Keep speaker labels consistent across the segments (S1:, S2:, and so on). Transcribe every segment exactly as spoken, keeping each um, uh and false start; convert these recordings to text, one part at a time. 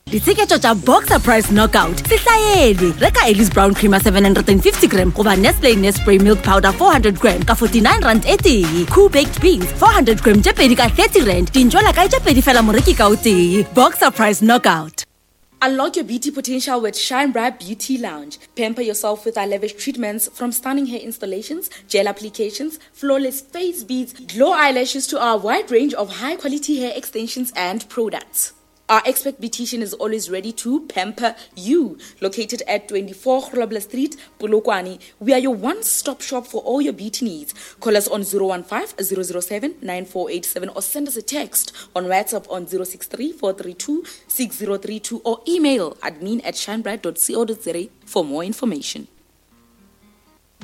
S1: Ditsheketšo tša Boxer Price Knockout se hlaelwe. Reka Ellis Brown Creamer seven hundred and fifty gram goba Nestle Nespray Milk Powder four hundred gram ka forty-nine rand e tee. Koo Baked Beans four hundred gram tše pedi ka thirty rand. Dintšwela kae tše pedi fela moreki ka o tee. Boxer Price Knockout.
S2: Unlock your beauty potential with Shine Bright Beauty Lounge. Pamper yourself with our lavish treatments, from stunning hair installations, gel applications, flawless face beads, glow eyelashes to our wide range of high-quality hair extensions and products. Our expert beautician is always ready to pamper you. Located at twenty-four Grobler Street, Polokwane, we are your one-stop shop for all your beauty needs. Call us on zero one five, zero zero seven, nine four eight seven or send us a text on WhatsApp on zero six three, four three two, six zero three two or email admin at shinebright dot co dot za for more information.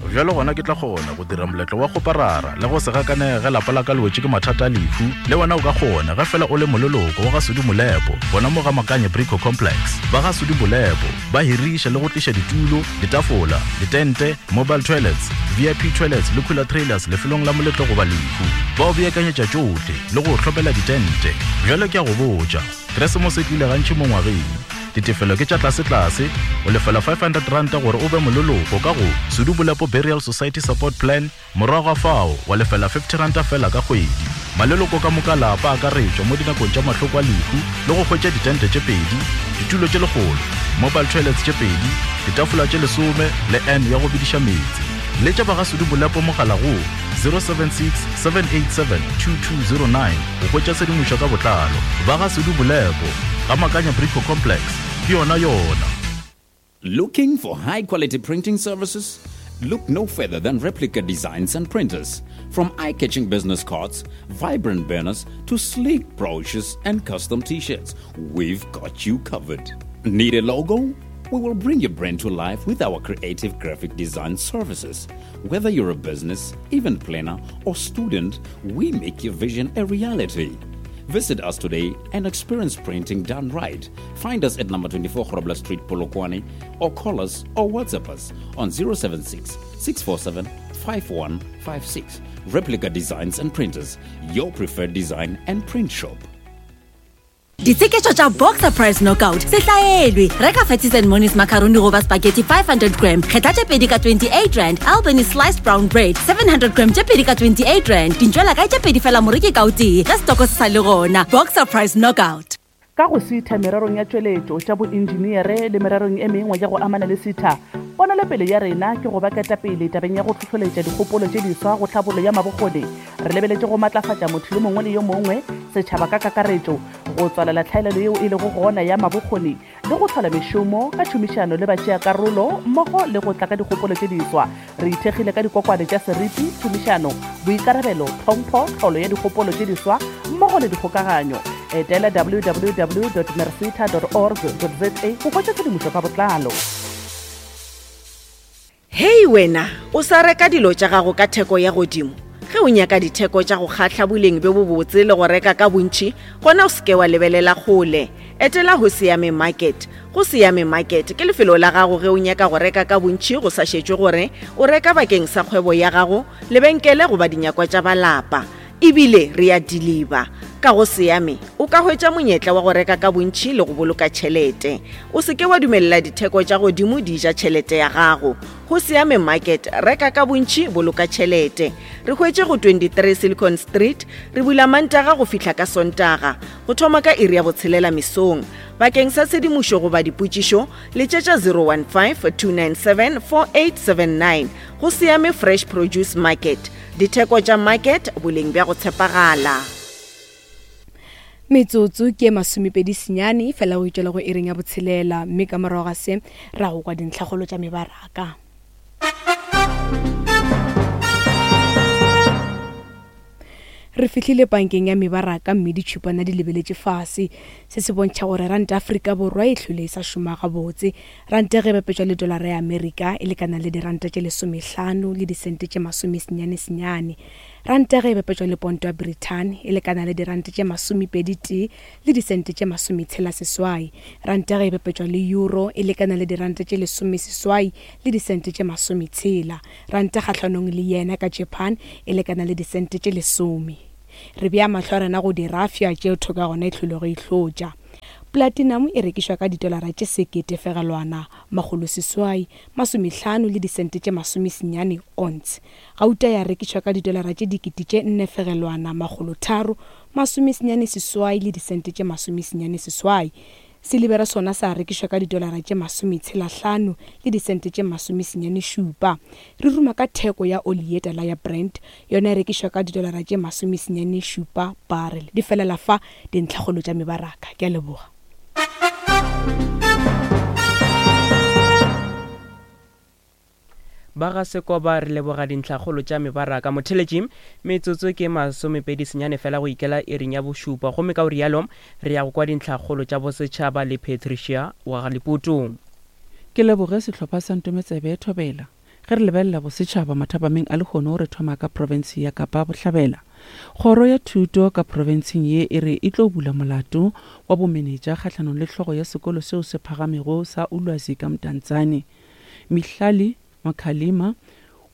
S3: Bjalo gona ke tla kgona go dira moletlo wa go parara le go se gakanege lapa la ka le wetše ke mathata a lehu. Le wena o ka kgona ge fela o le moleloko wa ga Sudi Molepo, gona mo ga Makanye Brico Complex. Ba ga Sudi Molepo ba hiriša le go tliša ditulo, ditafola, ditente, mobile toilets, V I P toilets le cooler trailers lefelong la moletlo goba lehu. Ba o beakanyetša tšohle le go hlopela ditente. Bjalo ke a go botša, Keresemose e tlile gantši mo ngwageng. Ditefelo ke tša tlase-tlase, o lefela five hundred rand gore o be moleloko ka go Sudi Molepo Burial Society Support Plan, morago ga fao wa lefela fifty rand fela ka kgwedi. Maleloko ka moka lapa a akaretšwa mo dinakong tša mahloko a lehu le go hwetša ditente tše pedi, ditulo tše lekgolo, mobile toilets tše pedi, ditafola tše lesome le N ya go bediša meetse. Letša ba ga Sudi Molepo mogala go zero seven six, seven eight seven, two two zero nine go hwetša tshedimošo ka botlalo. Ba ga Sudi Molepo, ga Makanya Brico Complex, ke yona yona.
S4: Looking for high quality printing services? Look no further than Replica Designs and Printers. From eye-catching business cards, vibrant banners, to sleek brochures and custom t-shirts, we've got you covered. Need a logo? We will bring your brand to life with our creative graphic design services. Whether you're a business, event planner, or student, we make your vision a reality. Visit us today and experience printing done right. Find us at number twenty-four Grobler Street, Polokwane, or call us or WhatsApp us on zero seven six, six four seven, five one five six. Replica Designs and Printers, your preferred design and print shop.
S1: Ditsheketšo tša Boxer Price Knockout se hlaelwe. Reka Fatties and Monies macaroni goba spaghetti five hundred gram, kgetha tše pedi ka twenty-eight rand. Albany sliced brown bread seven hundred gram tše pedi ka twenty-eight rand. Dintšwela kae tše pedi fela moreki ka o tee, ge setoko se sa le gona. Boxer Price Knockout.
S5: Ka go sitha mererong ya tšweletšo tša boenjiniere le mererong e mengwe ya go amana le sitha, ponelopele ya rena ke go ba ketapele tabeng ya go hlohloletša dikgopolo tše diswa go tlhabollo ya mabokgoni. Re lebeletše go matlafatša motho yo mongwe le yo mongwe, setšhaba ka kakaretšo, go tswalela tlhaelelo yeo e lego gona ya mabokgoni le go hlola mešomo ka tšhomišano le batšeakarolo mmogo le go tla ka dikgopolo tše diswa. Re ithekgile ka dikokwane tša seriti, tšhomišano, boikarabelo, tlhompho, tlholo ya dikgopolo tše diswa mmogo le dikgokaganyo. Etela w w w dot merseta dot org dot z a go hwetša tshedimošo ka botlalo.
S6: Hei wena, o sa reka dilo tša gago ka theko ya godimo. Ge o nyaka ditheko tša go kgahla boleng bjo bobotse le go reka ka bontši, gona o seke wa lebelela kgole. Etela go Siame Market. Go Siame Market ke lefelo la gago ge o nyaka go reka ka bontši go sa šetšwe gore o reka bakeng sa kgwebo ya gago, lebenkele goba dinyakwa tša balapa. Ebile re a deliver. Ka go Siame o ka hwetša monyetla wa go reka ka bontši le go boloka tšhelete. O seke wa dumelela ditheko tša godimo di ja tšhelete ya gago. Go Siame Market, reka ka bontši, boloka tšhelete. Re hwetše go twenty-three Silicon Street, re bula Mantaga go fihla ka Sontaga, go thoma ka iri ya botshelela mesong. Bakeng sa tshedimošo goba dipotšišo, letšetša zero one five, two nine seven, four eight seven nine. Go Siame Fresh Produce Market. Ditheko tša market, boleng bja go tshepagala.
S7: Metsotso ke masomepedi senyane fela go itšwela go iring ya botshelela, mme ka morago ga se ra go kwa dintlhakgolo tša mebaraka. Re fihlile bankeng ya mebaraka mme ditšhupana di lebeletše fase. Se se bontšha gore ranta Afrika Borwa e hlwele e sa šoma gabotse. Ranta ge e bapetšwa le dolara ya Amerika e lekana le diranta tše lesomehlano le disente tše masomesenyane senyane. Ranta ge e bapetšwa le ponto ya Britain e lekana le diranta tše masomepedi tee le disente tše masometshela seswai. Ranta ge e bapetšwa le euro e lekana le diranta tše lesomeseswai le disente tše masometshela. Ranta kgahlanong le yena ka Japan e lekana le disente tše lesome. Re bea mahlo a rena go dirafša tšeo thoko ya gona e hlwelego e hlotša. Platinum e rekišwa ka ditolara tše sekete fegelwana makgolo seswai masomehlano le disente tše masomesenyane ounce. Gauta ya rekišwa ka ditolara tše dikete tše nne fegelwana makgolo tharo masomesenyane seswai le disente tše masomesenyane seswai. Silibera sona sa rekišwa ka ditolara tše masometshelahlano le disente tše masomesenyane šupa. Re ruma ka theko ya oli ye tala ya Brent, yona e rekišwa ka ditolara tše masomesenyane šupa barrel. Di felela fa dintlhakgolo tša mebaraka. Ke a leboga.
S8: Ba ga Sekoba re leboga dintlhakgolo tša mebaraka. Motheletši metsotso ke masomepedi senyane fela go ikela iring ya bošupa, gomme ka o rialo re ya go kwa dintlhakgolo tša bosetšhaba le Patricia wa ga Leputu.
S5: Ke leboge sehlopha sa Ntometsebe Thobela. Ge re lebelela bosetšhaba mathapameng a lehono, re thoma ka profense ya Kapa Bohlabela. Kgoro ya thuto ka profenseng ye e re e tlo bula molato wa bomenetša kgahlanong le hlogo ya sekolo seo se phagamego sa Ulwazi ka Mdantsane, Mihlali Makhalima,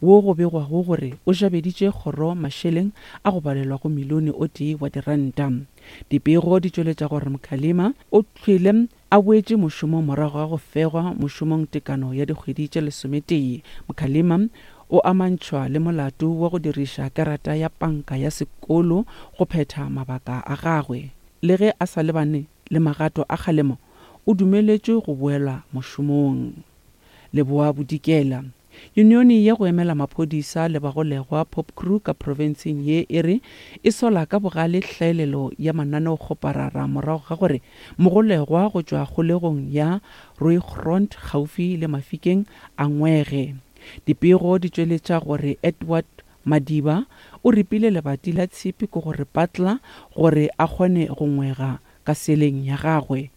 S5: wo go begwago gore o jabeditše kgoro mašeleng a go balelwa go milione o tee wa diranta. Dipego di tšweletša gore Mkhalima o hlwele a boetše mošomong morago ga go fegwa mošomong tekano ya dikgwedi tše lesometee. Mkhalima o amantšhwa le molato wa go diriša karata ya panka ya sekolo go phetha mabaka a gagwe. Le ge a sa lebane le magato a kgalemo, o dumeletšwe go boela mošomong. Leboa Bodikela. Unione ya go emela maphodisa le bagolegwa Pop Crew ka profenseng ye e re e sola ka bogale hlaelelo ya mananeokgoparara morago ga gore mogolegwa go tšwa kgolegong ya Rooigrond gaufi le Mafikeng a ngwege. Dipego di tšweletša gore Edward Madiba o ripile lebati la tshipi ke gore patla gore a kgone go ngwega ka seleng ya gagwe.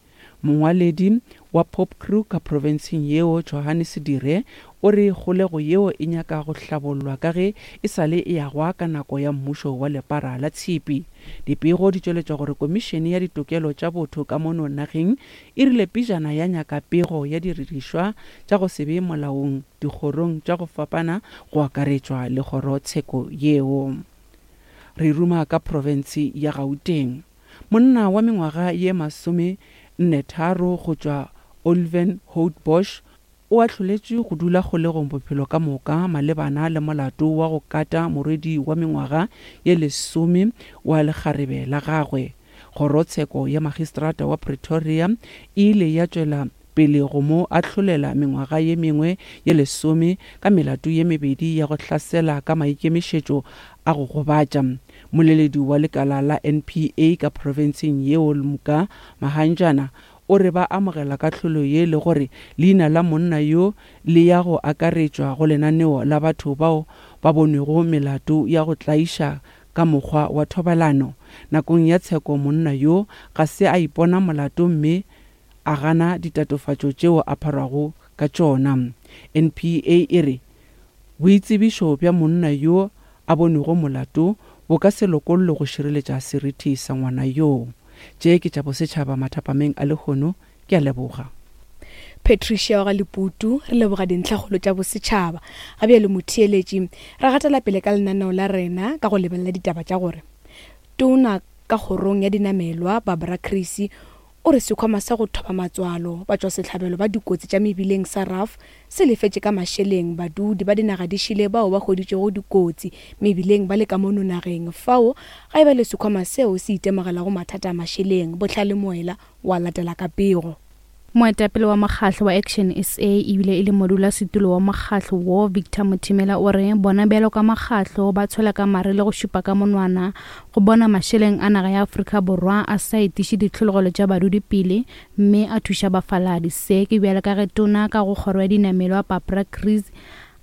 S5: Mongwaledi wa Pop Crew ka profenseng yeo Johannes Dire o re kgolego yeo e nyaka go hlabollwa ka ge e sale e agwa ka nako ya mmušo wa lepara la tshipi. Dipego di tšweletša gore komišene ya ditokelo tša botho ka mono nageng e rile pejana ya nyaka pego ya didirišwa tša go se be molaong dikgorong tša go fapana go akaretšwa le kgorotsheko yeo. Re ruma ka profense ya Gauteng. Monna wa mengwaga ye masome nne tharo go tšwa Olievenhoutbosch o ahloletšwe go dula kgolegong bophelo ka moka malebana le molato wa go kata morwedi wa mengwaga ye lesome wa lekgarebe la gagwe. Kgorotsheko ya magistrata wa Pretoria e ile ya tšwela pele go mo ahlolela mengwaga ye mengwe ye lesome ka melato ye mebedi ya go hlasela ka maikemišetšo a go gobatša. Moleledi wa lekala la N P A ka profenseng yeo Luka Mahanjana o re ba amogela kahlolo ye le gore leina la monna yo le ya go akaretšwa go lenaneo la batho bao ba bonwego melato ya go tlaiša ka mokgwa wa thobalano. Nakong ya tsheko monna yo ga se a ipona molato mme a gana ditatofatšo tšeo a pharwago ka tšona. N P A e re boitsebišo bja monna yo a bonwego molato bo ka se lokollwe go šireletša seriti sa ngwana yoo. Tše ke tša bosetšhaba mathapameng a lehono. Ke a leboga.
S7: Patricia wa ga Leputu, re leboga dintlhakgolo tša bosetšhaba. Ga bjale motheeletši, re gatela pele ka lenaneo la rena ka go lebelela ditaba tša gore tona ka kgorong ya dinamelwa Barbara Creecy o re sekhwama sa go thoba matswalo batšwasehlabelo ba dikotsi tša mebileng sa R A F se lefetše ka mašeleng badudi ba dinaga di šile bao ba hweditšego dikotsi mebileng ba le ka mono nageng. Fao ga e ba le sekhwama seo se itemogelago mathata a mašeleng. Bohlale Moela wa latela ka pego.
S9: Moetapele wa mokgahlo wa Action S A ebile e le modulasetulo wa mokgahlo wo Victor Mothimela o re bona bjalo ka mokgahlo ba tshwela ka mare le go šupa ka monwana go bona mašeleng a naga ya Afrika Borwa a sa etiše ditlhologelo tša badudi pele mme a thuša bafaladi. Se ke bjalo ka ge tona ka go kgoro ya dinamelwa Barbara Creecy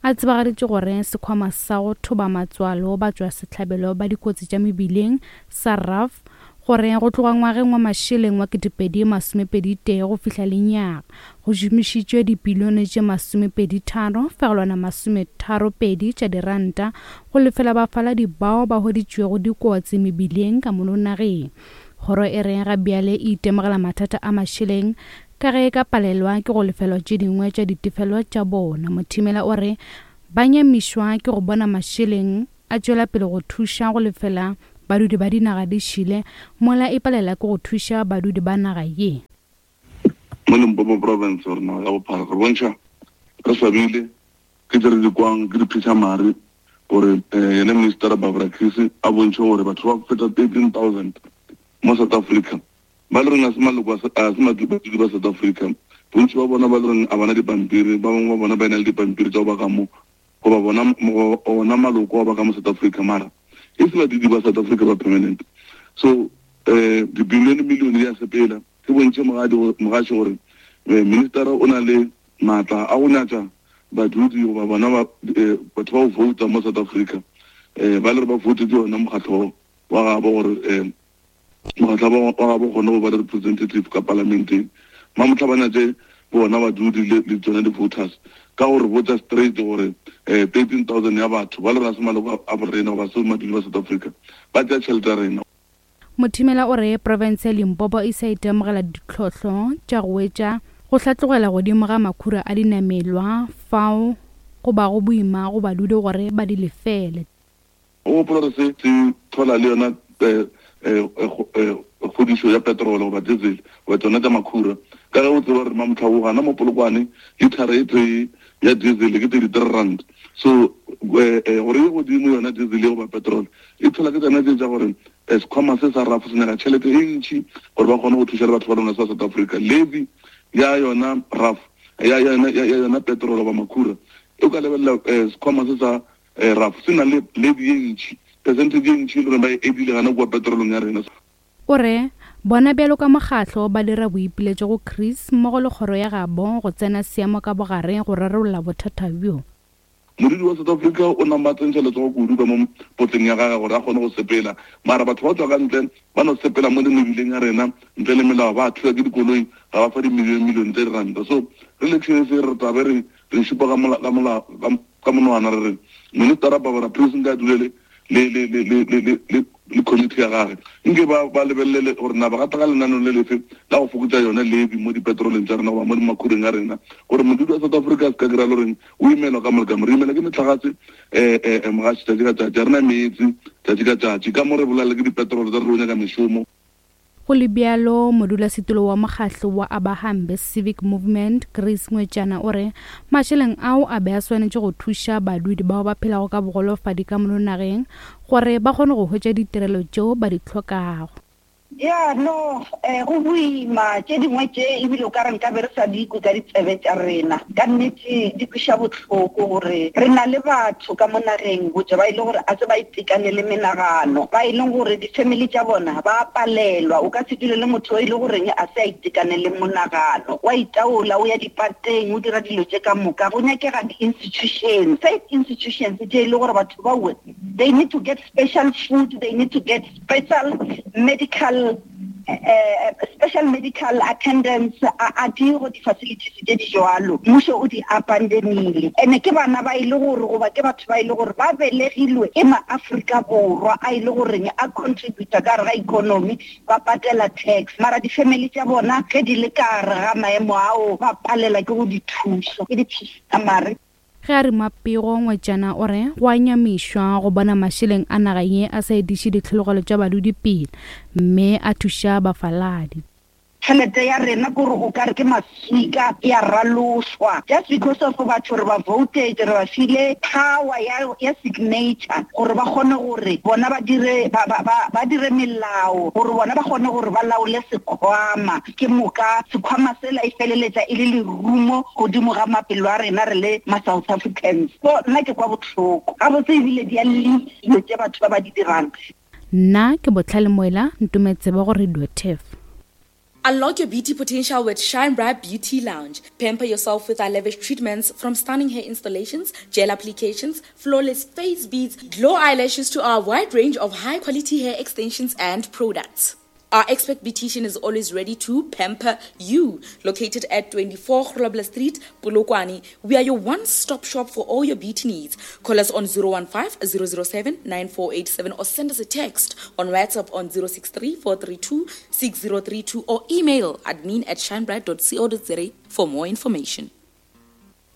S9: a tsebagaditše gore sekhwama sa go thoba matswalo batšwasehlabelo ba dikotsi tša mebileng sa R A F gore go tloga ngwageng wa mašeleng wa ketepedi masomepedi tee go fihla lenyaga go šomišitšwe dipilione tše masomepedi tharo fegelwana masometharo pedi tša diranta go lefela bafaladi bao ba hweditšwego dikotsi mebileng ka mono nageng. Kgoro e re ga bjale e itemogela mathata a mašeleng ka ge e ka palelwa ke go lefelwa tše dingwe tša ditefelo tša bona. Mothimela o re ba nyamišwa ke go bona mašeleng a tšwela pele go thuša go lefela badudi ba dinaga di šile mola e palela ke go thuša badudi ba naga ye.
S10: Mo Limpopo province gore naga ka bophara re bontšha re swabile ke tse re di kwang ke diphitlhamare gore yena Minister Barbara Creecy a bontšhe gore batho ba feta thirteen thousand mo South Africa ba le reng a se maloko a se badudi ba South Africa. Bontši ba bona ba le reng a bana dipampiri, ba bangwe ba bona ba ena le dipampiri tsa go ba ka mo goba bona ona maloko wa ba ka mo South Africa, mara e se badudi ba South Africa ba permanent. So um dibilione millione di a sepela. Ke bontšhe mogaši gore minister o na le maatla a go nyatša badudi goba bona batho ba go vouta mo South Africa, um ba le re ba voutetse yona mokgatlho wa gabo gore um mokgatlho wa gabo kgone go ba le representative ka parlamenteng. Mamotlha ba nyatše bona badudi le tsone di-voters ka gore botsa straight gore um thirteen thousand ya batho ba le re a se maloko a borena goba se badudi ba South Africa ba tšea tšhelete ya rena.
S9: Mothimela o re profense ya Limpopo e sa itemogela ditlhohlo tša go wetša go hlatlogela godimo ga makhura a dinamelwa fao go bago boima go badudi gore ba di lefele.
S10: O gopola gore se se thola le yona kgodišo ya petrol goba diesel goba tsona tša makhura, ka ge o tseba gore mamotlha o gana mo Polokwane lithara e tee ya diesel ke thirty-three rand. So gore e godimo yona diesel goba petrol e thola ke tsona tse tša gore sekhwama se sa rafo se nyaka tšhelete e ntši gore ba kgone go thuša le batho ba lona sa South Africa. Levy ya yona raf ya yona ya yona petrol goba makhura e ka lebelela sekhwama se sa raf se na le levy e ntši, percentage e ntši e le gore ba e edile gana kua petrolong ya rena.
S9: O re bona bjalo ka mokgatlo ba dira boipiletšo go Chris mmogo le kgoro ya gabo go tsena seemo ka bogare go rarolla bothata bjo.
S10: Modudi wa South Africa o namba tsentšha letsogo kudu ka mo potleng ya gagwe gore a kgone go sepela, mara batho ba tswa ka ntle ba no sepela mo mebileng ya rena ntle le melao, ba thusa ke dikoloi ga ba fa di-million million tse diranta. So re le se re tlabe re re šupa ka monwana re re Minister Barbara Creecy nka dulele le le le le le le le committee ya gagwe nke ba ba lebelele gore na ba ka tla ka lenaneo le lefe la go fokotša yone levy mo dipetroleng tša rena goba mo dimakhureng a rena gore modudi wa South Africa a se ka kry-a le goreng o imelwa ka molekamo. Re imelwa ke metlakase um mogaši tšatši ka tšatši, a rena meetse tšatši ka tšatši, ka mo re bolale ke dipetrole tsa re nyaka mešomo.
S9: Go le bjalo, modulasetulo wa mokgatlo wa Abahambe Civic Movement Chris Ngwetšana o re mašeleng ao a be a swanetše go thuša badudi bao ba phelago ka bogolofadi ka mono nageng gore ba kgone go hwetša ditirelo tšeo ba di hlokago.
S11: Ya no, eh go boima tše dingwe tše ebile o ka re nka be re sa di kwe ka ditsebe tša rena. Ka nnete di kweša bohloko gore re na le batho ka mo nageng botse ba e le gore a se ba itekanele menagano, ba e leng gore di-family tša bona ba palelwa. O ka se dule le motho o e le goreng a se a itekanele monagano, wa itaola, o ya dipateng, o dira dilo tše ka moka. Go nyakega di-institutions, safe institutions tše e le gore batho bao they need to get special food, they need to get special medical Uh, special medical attendance a di go di-facilities tše di jwalo. Mmušo o di abandonile. Ene ke bana ba e le gore goba ke batho ba e le gore ba belegilwe ke ma-Afrika Borwa a e le goreng a contributa ka gare ga economy, ba patela tax, mara di-family tša bona ge di le ka gare ga maemo ao ba palela ke go di thuša ke di-mare.
S9: Ge a re mapego Ngwetšana o re go a nyamišwa go bona mašeleng a naga ye a sa ediše ditlhologelo tša badudi pele mme a thuša bafaladi.
S11: Tšhelete ya rena kore o ka re ke maswika ya ralošwa just because of batho re ba voted, re ba file power ya ya signature gore ba kgone gore bona ba dire ba ba ba dire melao gore bona ba kgone gore ba laole sekhwama. Ke moka sekhwama sela e feleletša e le lerumo godimo ga mapelo a rena re le ma South Africans. So nna ke kwa bohloko gabotse ebile di a dilo tše batho ba ba di dirang.
S9: Nna ke Botlhale Moela, ntumetse ba go Radio Turf.
S2: Unlock your beauty potential with Shine Bright Beauty Lounge. Pamper yourself with our lavish treatments from stunning hair installations, gel applications, flawless face beads, glow eyelashes to our wide range of high-quality hair extensions and products. Our expert beautician is always ready to pamper you. Located at twenty-four Grobler Street, Polokwane, we are your one-stop shop for all your beauty needs. Call us on zero one five, zero zero seven, nine four eight seven or send us a text on WhatsApp on zero six three, four three two, six zero three two or email admin at shinebright dot co dot za for more information.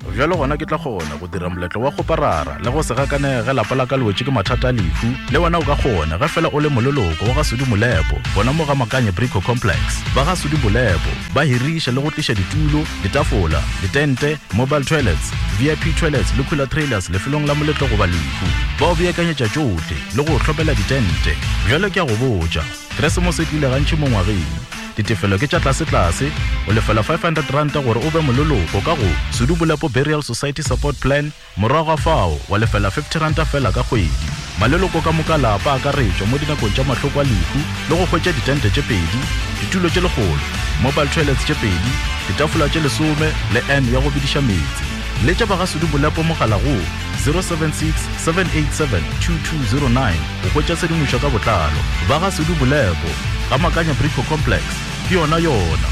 S3: Bjalo gona ke tla kgona go dira moletlo wa kgoparara le go se gakanege lapa la ka le wetše ke mathata a lehu. Le wena o ka kgona ge fela o le moleloko wa ga Sudi Molepo gona mo ga Makanye Brico Complex. Ba ga Sudi Molepo ba hiriša le go tliša ditulo, ditafola, ditente, mobile toilets, V I P toilets le cooler trailers lefelong la moletlo goba lehu. Ba o beakanyetša tšohle le go hlopela ditente. Bjalo ke a go botša, Keresemose e tlile gantši mo ngwageng. Ditefelo ke tša tlase-tlase, o lefela five hundred ranta gore o be moleloko ka go Sudi Molepo Burial Society Support Plan, morago ga fao wa lefela fifty ranta fela ka kgwedi. Maleloko ka moka lapa a akaretšwa mo dinakong tša mahloko a lehu le go hwetša ditente tše pedi, ditulo tše lekgolo, mobile toilets tše pedi, ditafola tše lesome le N ya go bediša meetse. Letša ba ga Sudi Molepo mogala go zero seven six, seven eight seven, two two zero nine go hwetša tshedimošo ka botlalo. Ba ga Sudi Molepo ga Makanya Brico Complex ke yona yona.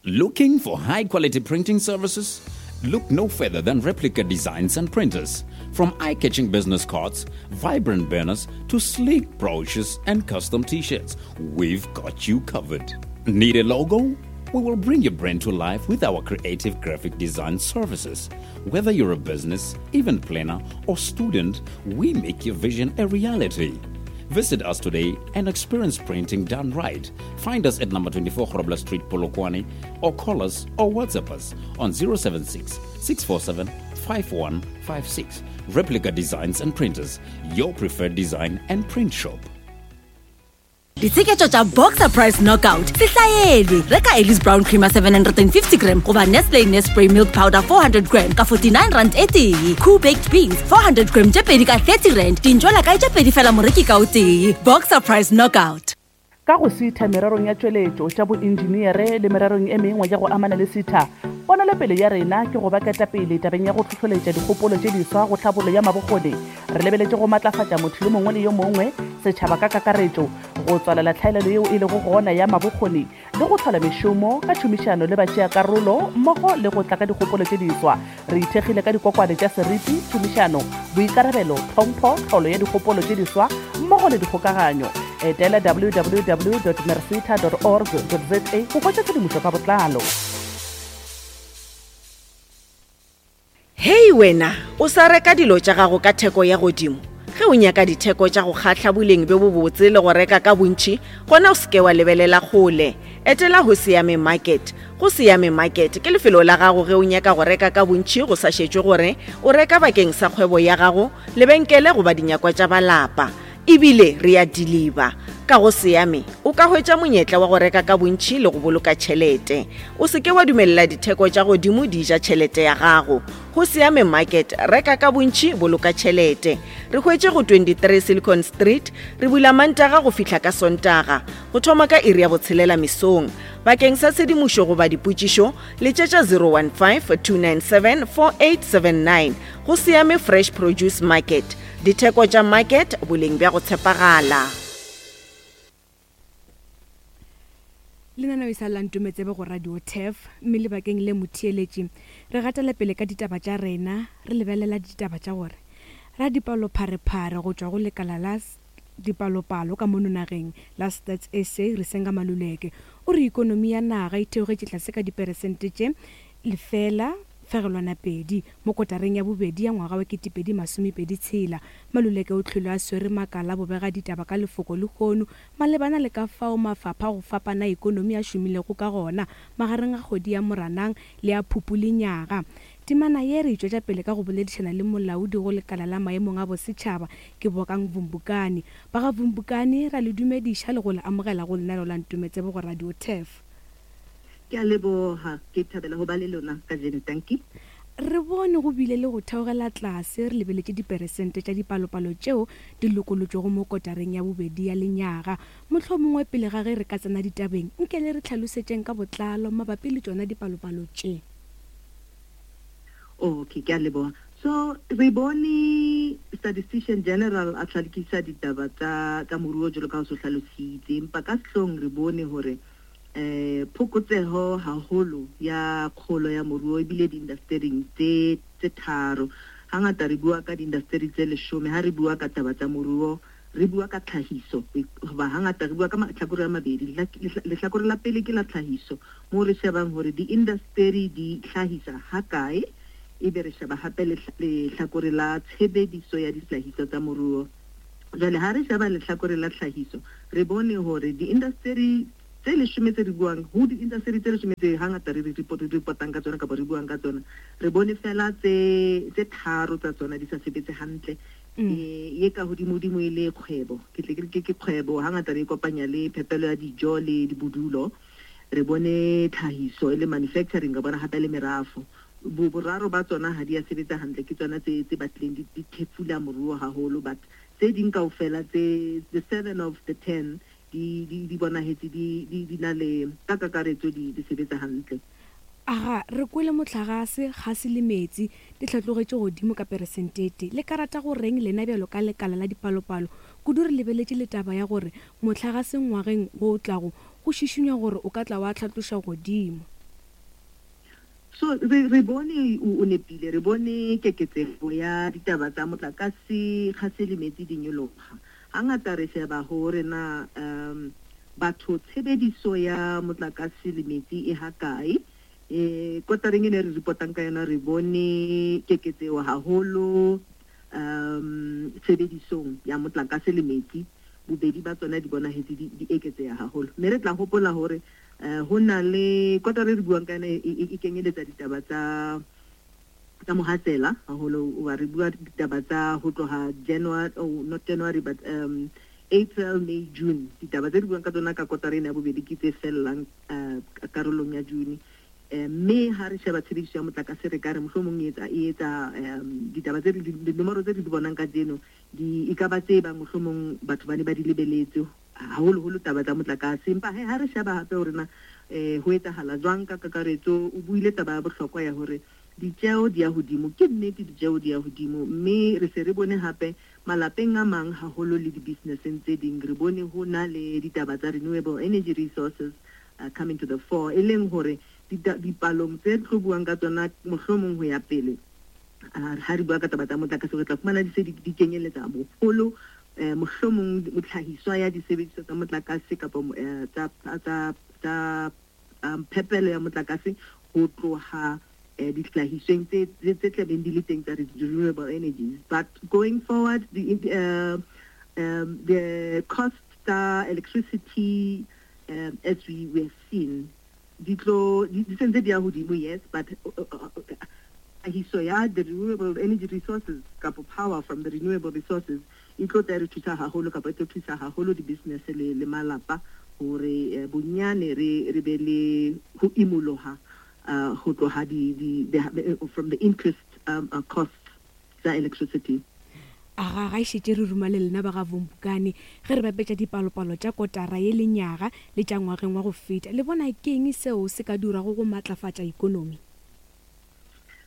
S4: Looking for high quality printing services? Look no further than Replica Designs and Printers. From eye-catching business cards, vibrant banners, to sleek brochures and custom t-shirts, we've got you covered. Need a logo? We will bring your brand to life with our creative graphic design services. Whether you're a business, event planner, or student, we make your vision a reality. Visit us today and experience printing done right. Find us at number twenty-four Grobler Street, Polokwane, or call us or WhatsApp us on zero seven six, six four seven, five one five six. Replica Designs and Printers, your preferred design and print shop.
S1: Ditsheketšo tša Boxer Price Knockout se hlaelwe. Reka Ellis Brown Creamer seven hundred and fifty gram goba Nestle Nespray Milk Powder four hundred gram ka forty-nine rand e tee. Cool Baked Beans four hundred gram tše pedi ka thirty rand. Dintšwela kae tše pedi fela moreki ka o tee. Boxer Price Knockout.
S5: Ka go sitha mererong ya tšweletšo tša boenjiniere le mererong e mengwe ya go amana le sitha, ponelopele ya rena ke go ba ketapele tabeng ya go hlohloletša dikgopolo tše diswa go tlhabollo ya mabokgoni. Re lebeletše go matlafatša motho yo mongwe le yo mongwe, setšhaba ka kakaretšo, go tswalela tlhaelelo yeo e lego gona ya mabokgoni le go hlola mešomo ka tšhomišano le batšeakarolo mmogo le go tla ka dikgopolo tše diswa. Re ithekgile ka dikokwane tša seriti, tšhomišano, boikarabelo, tlhompho, tlholo ya dikgopolo tše diswa mmogo le dikgokaganyo. Etela w w w dot mercita dot org dot z a go hwetša tshedimošo ka botlalo.
S6: Hei wena, o sa reka dilo tša gago ka theko ya godimo? Ge o nyaka ditheko tša go kgahla boleng bjo bobotse le go reka ka bontši, gona o seke wa lebelela kgole. Etela ho Siame Market. Go Siame Market ke lefelo la gago ge o nyaka go reka ka bontši go sa šetšwe gore o reka bakeng sa kgwebo ya gago, lebenkele goba dinyakwa tša balapa. Ebile re a deliver. Ka go Siame o ka hwetša monyetla wa go reka ka bontši le go boloka tšhelete. O seke wa dumelela ditheko tša godimo di ja tšhelete ya gago. Go Siame Market, reka ka bontši, boloka tšhelete. Re hwetše go twenty-three Silicon Street, re bula Mantaga go fihla ka Sontaga, go thoma ka iri ya botshelela mesong. Bakeng sa tshedimošo goba dipotšišo, letšetša zero one five, two nine seven, four eight seven nine. Go Siame Fresh Produce Market. Ditheko tša market, boleng bja go tshepagala.
S7: Lenaneo e sa la Ntometsebe go Radio T E F, mme lebakeng le motheeletši re gatela pele ka ditaba tša rena, re lebelela ditaba tša gore radipalopharephare go tšwa go lekala la dipalopalo ka mono nageng la Stats S A Risenga Maluleke o re ikonomi ya naga e theogetše tlase ka diperesente tše lefela fegelwana pedi mo kotareng ya bobedi ya ngwaga wa ketepedi masomepedi tshela. Maluleke o tlhole a swere makala bobega ditaba ka lefoko lehono malebana le ka fao mafapha go fapana ikonomi a šomilego ka gona magareng ga kgwedi ya Moranang le ya Phupu lenyaga. Temana ye re itšwetša pele ka go boledišana le molaodi go lekala la maemong a bosetšhaba ke Bokang Vumbukani. Ba ga Vumbukani ra le dumediša le go le amogela go lenaneo la Ntometsebe go Radio T E F.
S12: Ke a leboha, ke thabela ho ba le lona kajeno, dankie.
S7: Re bone go bile le go theogela tlase re lebeletše diperesente tša dipalopalo tšeo di lokolotšwego mo kotareng ya bobedi ya lenyaga. Mohlomongwe pele ga ge re ka tsena ditabeng, nke le re tlhalosetšeng ka botlalo mabapi le tšona dipalopalo tše.
S12: Okay, ke a leboha. So re bone statistician general a tlhalokisa ditaba tsa tsa moruo jwalo ka ho so hlalositse, empa ka sehlong re bone hore eh phokotseho haholo ya kgolo ya moruo ebile di-industering tse tse tharo. Hangata re bua ka di-industry tse leshome, ha re bua ka taba tsa moruo re bua ka tlhahiso, hoba hangata re bua ka mahlakore a mabedi. Lehlakore la pele ke la tlhahiso, moo re shebang hore di-industry di hlahisa hakae, Ebe re sheba hape lehlakore la tshebediso ya dihlahiswa tsa moruo. Jwale ha re sheba lehlakore la tlhahiso, re bone hore di-industry tse leshome tse re buang, ho di-industry tse leshome tse hangata re reportang ka tsona kapa re buang ka tsona, re bone fela tse tse tharo tsa tsona di sa sebetse hantle. Ye ka hodimodimo e le kgwebo, ke tle ke re ke kgwebo, hangata re kopanya le phepelo ya dijo le dibodulo. Re bone tlhahiso e le manufacturing, ka bona hape le merafo. Boraro ba tsona ha di a sebetsa hantle, ke tsona tse tse batlileng di thefula moruo haholo, but tse ding kaofela tse the seven of the ten di di di bonahetse di di di na le ka kakaretso di di sebetsa hantle.
S7: Aga re kwele motlagase, gase le metsi di hlatlogetše godimo ka peresentete. Le ka rata go reng lena bjalo ka lekala la dipalopalo, kudu re lebeletše le taba ya gore motlagase ngwageng wo o tlago go šišinywa gore o ka tla wa hlatloša godimo?
S12: So re re bone o nepile, re bone keketsego ya ditaba tsa motlakase, gase le metsi di nyoloha. Hangata re sheba hore na um batho tshebediso ya motlakase le metsi e hakae. Eh kotareng e ne re reportang ka yona, re bone keketseho haholo um tshebedisong ya motlakase le metsi. Bobedi ba tsona di bonahetse di eketseha haholo. Mme re tla hopola hore ho na le kotara re buang ka yona e kenyeletsa ditaba tsa tsa mohatsela haholo, wa re bua ditaba tsa ho tloha January, oh not January but um April, May, June. Ditaba tse re buang ka tsona ka kotara ena ya bobedi ke tse fellang karolong ya June. Mme ha re sheba tshebediso ya motlakase, re ka re mohlomong e etsa e etsa ditaba tse dinomoro tse re di bonang kajeno di e ka ba tse bang mohlomong batho ba ne ba di lebeletse haholoholo taba tsa motlakase. Empa ha re sheba hape hore na ho etsahala jwang ka kakaretso, o buile taba ya bohlokwa ya hore ditjeo di ya hodimo. Ke nnete ditjeo di ya hodimo, mme re se re bone hape malapeng a mang haholo le di-businesseng tse ding, re bone ho na le ditaba tsa renewable energy resources uh, coming to the fore, e leng hore dipalong tse tlo buang ka tsona mohlomong ho ya pele ha re bua ka taba tsa motlakase, re tla fumana di se di kenyeletsa boholo mohlomong motlhahiswa ya disebediswa tsa motlakase kapa tsa tsa tsa phepelo ya motlakase ho tloha dihlahisweng tse tse tlabeng di le teng tsa renewable energies. But going forward, the uh, um, the cost tsa electricity, um, as we have seen, di tlo di sentse di ya hodimo, yes, but tlhahiso ya the renewable energy resources kapa power from the renewable resources e tlo tla re thusa haholo kapa e tlo thusa haholo di-business le le malapa hore bonyane re re be le ho imoloha ho tloha di di from the interest um, uh, cost tsa electricity.
S7: Aga ga e šetše re ruma le lena ba ga Vumbukani ge re bapetša dipalopalo tša kotara ye lenyaga le tša ngwageng wa go feta, le bona ke eng seo se ka dirago go matlafatša ikonomi?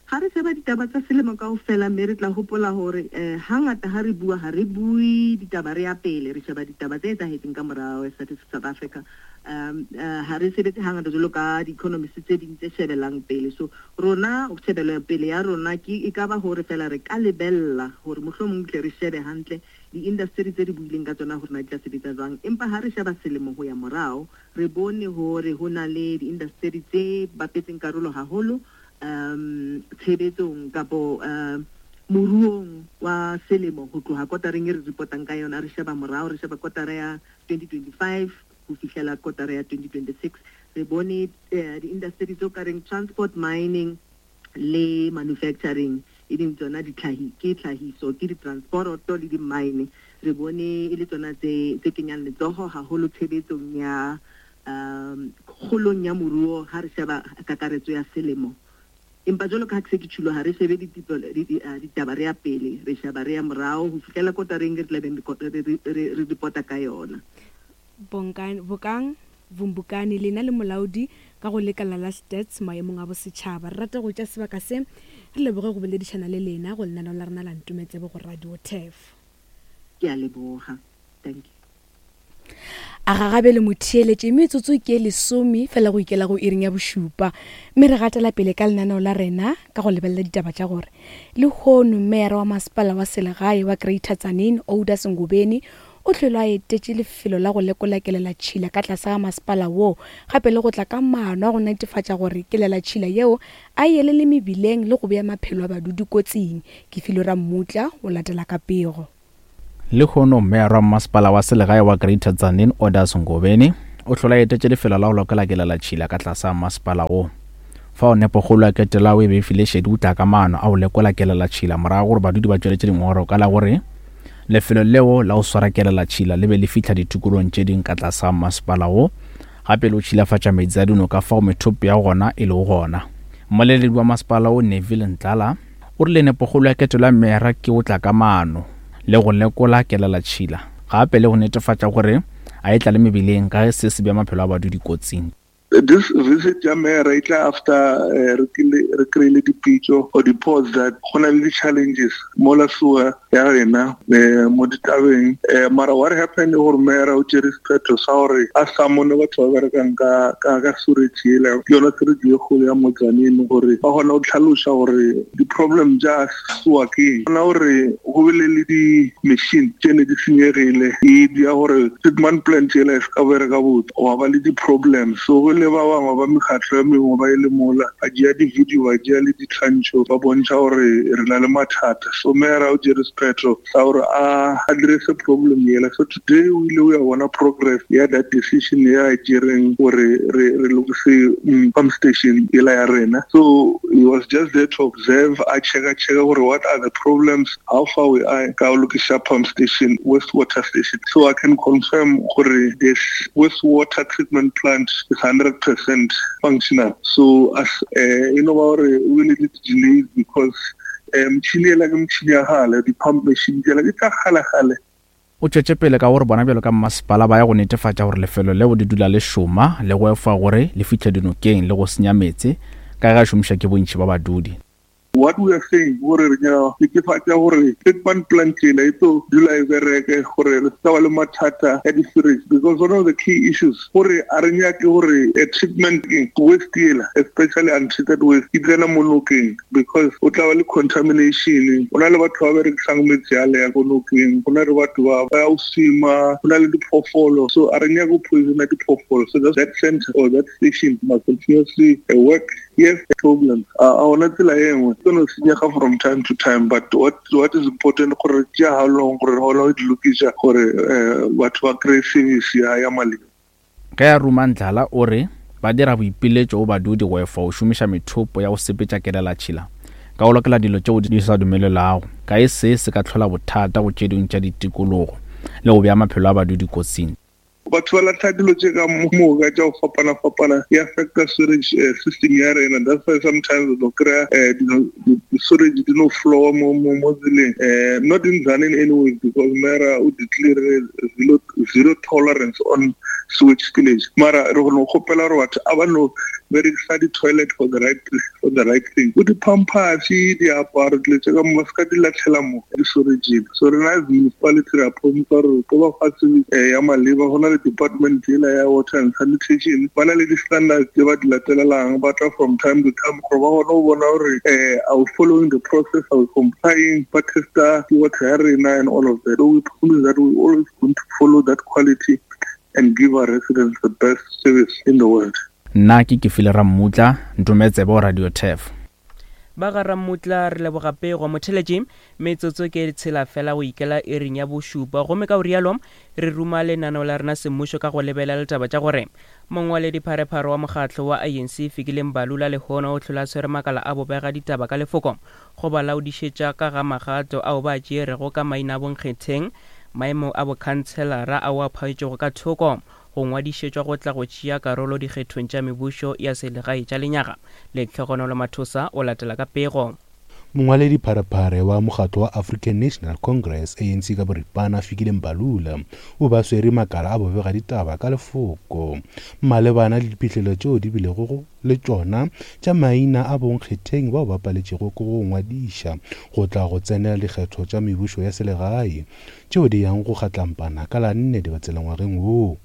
S12: Ha re sheba ditaba tsa selemo kaofela, mme re tla hopola hore hangata ha re bua ha re bue ditaba re ya pele, re sheba ditaba tse etsahetseng ka morao Statistics South Africa. Um ha re sebetse hangata jwalo ka di-economist tse ding tse shebelang pele. So rona shebelo pele ya rona ke e ka ba hore fela re ka lebella hore mohlomong tle re shebe hantle di-industry tse re buileng ka tsona hore na di tla sebetsa jwang. Empa ha re sheba selemo ho ya morao, re bone hore ho na le di-industry tse bapetseng karolo haholo um tshebetsong kapo um moruong wa selemo ho tloha kotareng e re reportang ka yona. Re sheba morao, re sheba kotara ya twenty twenty-five ho fihlela kotara ya twenty twenty-six, re bone di-industry tse ka reng transport, mining le manufacturing, e leng tsona ditlhahi ke tlhahiso ke di-transporoto le di-mine, re bone e le tsona tse tse kenyang letsoho haholo tshebetsong ya um kgolong ya moruo ha re sheba kakaretso ya selemo. Empa jwalo ka ha ke se ke tjhulo, ha re shebe ditaba re ya pele, re sheba re ya morao ho fihlela kotareng re tlabeng re reporta ka yona.
S7: Bongani Bokang Vumbukani lena le molaodi ka go lekala la Stats maemong a bosetšhaba, re rata go tša sebaka se re leboge go boledišana le lena go lenaneo la rena la Ntometsebe go Radio Turf.
S12: Ke a leboga, thank you.
S7: A gagabe le motheeletše metsotso ke lesome fela go ikela go iring ya bošupa, mme re gatela pele ka lenaneo la rena ka go lebelela ditaba tša gore lehono meyara wa masepala wa selegae wa Greater Tzaneen Oda Sengobeni o hlwele a etetše lefelo la go lekola kelelatšhila ka tlase ga masepala woo, gape le go tla ka maano a go netefatša gore kelelatšhila yeo a e elele mebileng le go bea maphelo a badudi kotsing. Ke Filwe Rammutla o latela ka pego.
S13: Lehono meyara wa masepala wa selegae wa Greater Tzaneen Orders Ngobeni o hlola etetše lefelo la go lekola kelelatšhila ka tlase ga masepala wo. Fao nepokgolo ya ketelo e be e file šedi o tla ka maano a go lekola kelelatšhila morago gore badudi ba tšweletše dingongorego ka la gore lefelo leo la go swara kelelatšhila le be le fihla ditikolong tše ding ka tlase ga masepala wo, gape le go tšhilafatša meetse a dinoka fao methopo ya gona e lego gona. Mmoleledi wa masepala wo Neville Ntlala o rile nepokgolo ya ketelo ya meyara ke go tla ka maano le go lekola kelelatšhila, gape le go netefatša gore a e tlale mebileng ka ge se se bea maphelo a badudi kotsing.
S14: This visit ya mayor e tla after re re kry-ile dipitso or di-reports that go na le di-challenges mola sewer ya rena mo ditabeng. Mara what happened gore mayor o tšere sephetho sa gore a summone batho ba berekang ka ka ka sewerage ela, ke yona sewerage e kgolo ya mo Tzaneen, gore ba kgona go tlhalosa gore di-problem tša sewer ke eng. Bona gore go bile le di-machine tše ne di senyegile, e dia gore treatment plant ela e se ka bereka botse, gwa ba le di-problems. So go le ba bangwe ba mekgatlo ya mengwe ba ile mola ba tšea di-video, ba tšea le ditshwantšho, ba bontšha gore re na le mathata. So mayor o tšere sephetho sa gore a address problem yela. So today o ile o ya bona progress ya that decision ya e tšereng gore re re lokise pump station yela ya rena. So he was just there to observe, a checka checka gore what are the problems, how far we are ka go lokisa pump station, wastewater station. So I can confirm gore this wastewater treatment plant is hundred percent functional. So as uh, you know, we really did delays because motšhini ela ke motšhini ya kgale, di-pump machine tsela ke tsa kgale-kgale.
S13: O tšwetše pele ka gore bona bjalo ka mmasepala ba ya go netefatša gore lefelo leo le dula le šoma le go efa gore le fihle dinokeng le go senya meetse ka ge a šomiša ke bontši ba badudi.
S14: What we are saying gore re nyaka netefatša gore treatment plant ela e tlo dula e bereke, gore re se ba le mathata ya di-sewerage, because one of the key issues gore a re nyake gore a treatment waste ela, especially untreated waste, e tsena mo nokeng, because o tla ba le contamination. Go na le batho ba berekisang metsi ale ya ko nokeng, go na le batho ba ba ya go swima, go na le diphoofolo. So a re nyake go poisona diphoofolo. So that center or that station must continuously work. Yes, problems. A ona tsela e nngwe tse no senyega from time to time, but what what is important gore tšea how long gore re kgone go di lokiša gore batho ba kry-e service ya ya maleba.
S13: Ge a ruma Ndlala o re ba dira boipiletšo go badudi go efa go šomiša methopo ya go sepetša kelelatšhila ka go lokela dilo tšeo di sa dumelelago, ka e se se ka hlola bothata go tše dingwe tša ditikologo le go bea maphelo a badudi kotsing.
S14: Batho ba latlha dilo tše ka moka tša go fapana-fapana, e affecta sewerage system ya rena. That's why sometimes o tlo kry-a di-sewerage di no flowa mo mo mo tseleng. Not in Tzaneen anyways, because mayor o declare zero, zero tolerance on sewage spillage. Mara re go kgopela gore batho a ba no berekisa di-toilet for the right for the right thing. Go di-pampers, diaparo, dilo tše ka mo ba se ka di latlhela mo di-sewerageng. So rena as municipality re a promise gore tlo ba fa service ya maleba. Go na le department ela ya water and sanitation, ba na le di-standards tse ba di latelelang, ba tla from time to time gore ba kgone go bona gore are we following the process, are we complying, ba testa water ya rena and all of that. So we promise that we always going to follow that quality and give our residents the best service in the world.
S13: Nna ke Kefile Rammutla, Ntometsebe wa Radio Turf.
S8: Ba ga Rammutla re leboga pego. Motheletši, metsotso ke tshela fela go ikela iring ya bošupa, gomme ka o rialo re ruma lenaneo la rena semmušo ka go lebelela ditaba tša gore mongwaledipharephare wa mokgatlo wa A N C Fikile Mbalula lehono o hlola tshwere makala a bobega ditaba ka lefoko go ba laodišetša ka ga magato ao ba tšerego ka maina a bonkgetheng, maemo a bokhanselara ao a phaetšego ka thoko go ngwadišetšwa go tla go tšea karolo dikgethong tša mebušo ya selegae tša lenyaga. Letlhogonolo Mathosa o latela ka pego.
S15: Mongwaledipharephare wa mokgatlo wa African National Congress A N C ka boripana Fikile Mbalula o ba swere makala a bobega ditaba ka lefoko malebana le diphihlelo tšeo di bilego le tšona tša maina a bonkgetheng bao ba paletšego ke go ngwadiša go tla go tsenela dikgetho tša mebušo ya selegae tšeo di yang go kgatlampana ka la nne Dibatsela ngwageng woo.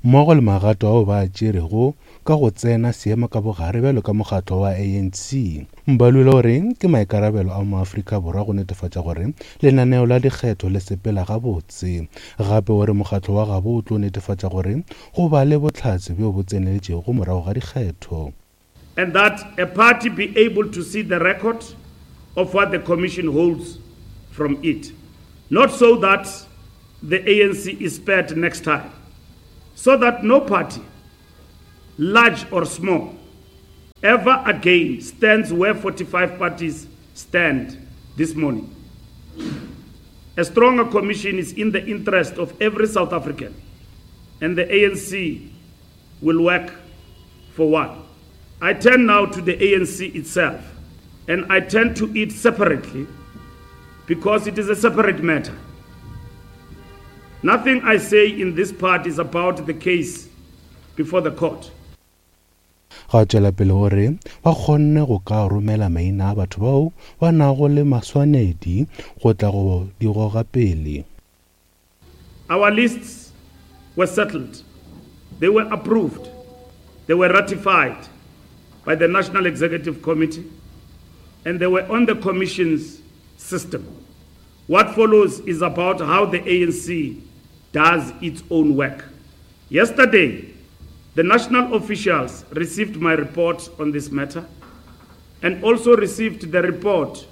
S15: mmogo le magato ao ba a tšerego ka go tsena seemo ka bogare bjalo ka mokgatlo wa A N C. Mbalula o re ke maikarabelo a maAfrika Borwa go netefatša gore lenaneo la dikgetho le sepela gabotse. Gape o re mokgatlo wa gabo o tlo netefatša gore go ba le bohlatse bjo bo tseneletšego morago ga dikgetho.
S16: And that a party be able to see the record of what the Commission holds from it. Not so that the A N C is spared next time, so that no party, large or small, ever again stands where forty-five parties stand this morning. A stronger commission is in the interest of every South African, and the A N C will work for one. I turn now to the A N C itself, and I turn to it separately because it is a separate matter. Nothing I say in this part is about the case before the court.
S15: Ga tšwela pele gore ba kgonne go ka romela maina a batho bao ba nago le maswanedi go tla go di goga pele.
S16: Our lists were settled. They were approved. They were ratified by the National Executive Committee, and they were on the Commission's system. What follows is about how the A N C does its own work. Yesterday, the national officials received my report on this matter and also received the report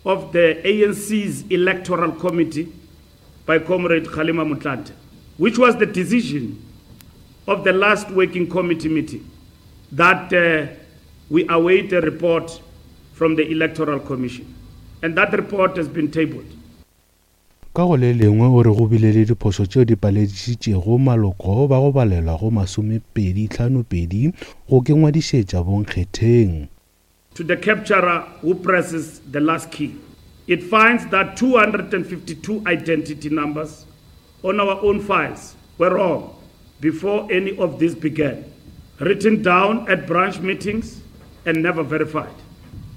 S16: of the A N C's Electoral Committee by Comrade Kgalema Motlanthe, which was the decision of the last working committee meeting that uh, we await a report from the Electoral Commission. And that report has been tabled.
S15: Ka go le lengwe o re go bile le diphošo tšeo di paledišitšego maloko ba go balelwa go masomepedi hlano pedi go ke ngwadišetša bonkgetheng.
S16: To the capturer who presses the last key, it finds that two hundred fifty-two identity numbers on our own files were wrong before any of this began, written down at branch meetings and never verified.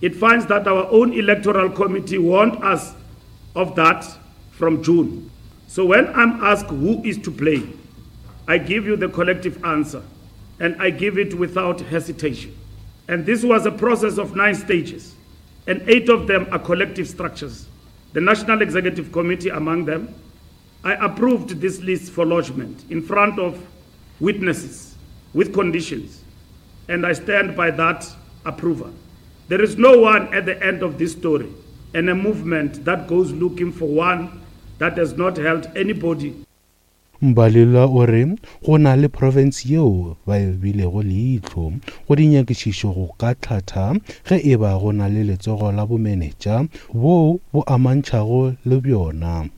S16: It finds that our own electoral committee warned us of that from June. So when I'm asked who is to blame, I give you the collective answer, and I give it without hesitation. And this was a process of nine stages, and eight of them are collective structures. The National Executive Committee among them. I approved this list for lodgement in front of witnesses with conditions, and I stand by that approval. There is no one at the end of this story, and a movement that goes looking for one that has not held anybody.
S15: Mbalula o re go na le profense yeo ba e bilego leihlo go dinyakišišo go ka hlatha ge e ba go na le letsogo la bomenetša boo bo amantšhago le bjona.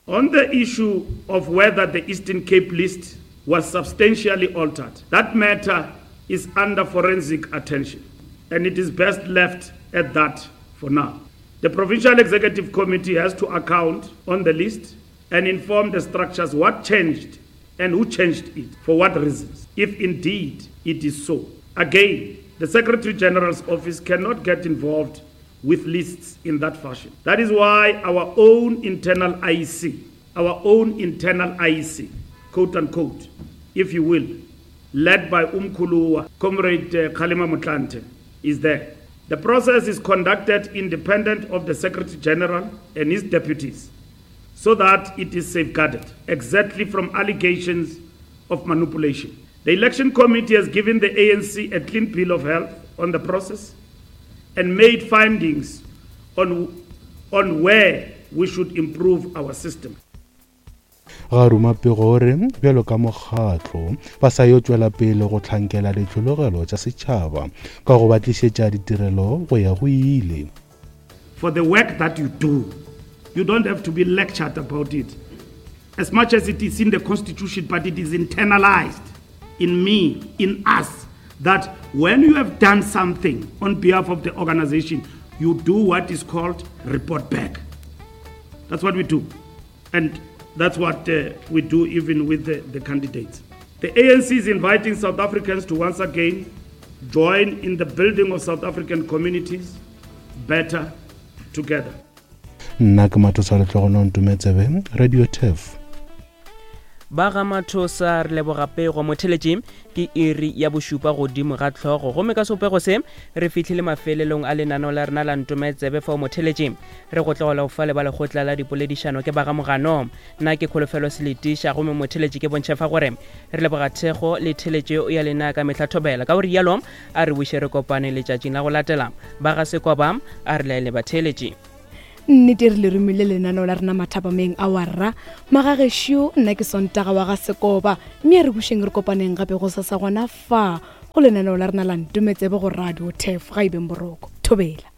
S16: On the issue of whether the Eastern Cape list was substantially altered, that matter is under forensic attention, and it is best left at that for now. The Provincial Executive Committee has to account on the list and inform the structures what changed and who changed it, for what reasons, if indeed it is so. Again, the Secretary General's office cannot get involved with lists in that fashion. That is why our own internal I E C, our own internal I E C, quote unquote, if you will, led by Umkhuluwa, Comrade uh, Kgalema Motlanthe, is there. The process is conducted independent of the Secretary General and his deputies so that it is safeguarded exactly from allegations of manipulation. The Election Committee has given the A N C a clean bill of health on the process and made findings on, on where we should improve our system.
S15: Ga ruma pego gore bjalo ka mokgatlo ba sa yo tšwela pele go hlankela ditlhologelo tša setšhaba ka go ba tlišetša ditirelo go ya go ile.
S16: For the work that you do, you don't have to be lectured about it. As much as it is in the constitution, but it is internalized in me, in us, that when you have done something on behalf of the organization, you do what is called report back. That's what we do. And that's what uh, we do even with the, the candidates. The A N C is inviting South Africans to once again join in the building of South African communities better together.
S15: Nna ke Mathosa Letlogono Ntumetsebe, Radio Turf.
S8: Ba ga Mathosa re leboga pego. Motheletši ke iri ya bošupa godimo ga tlhogo, gomme ka sopego se re fihlile mafelelong a lenaneo la rena la Ntometsebe. Fao motheletši re go tlogela go fa le ba lekgotla la dipoledišano ke ba ga Mogano. Nna ke Kholofelo Seletiša, gomme motheletši ke bontšhe fa gore re leboga thekgo le theletšo ya lena ka mehla thobela. Ka go rialo a re buše re kopane letšatšing la go latela. Ba ga Sekoba a re laele batheletši.
S7: Nnete re le romile lenaneo la rena mathapameng a warra magagešo. Nna ke Sontaga wa ga Sekoba, mme a re bušeng re kopaneng gape go sasa gona fa go lenaneo la rena la Ntometsebe go Radio Tef. Ga e beng boroko, thobela.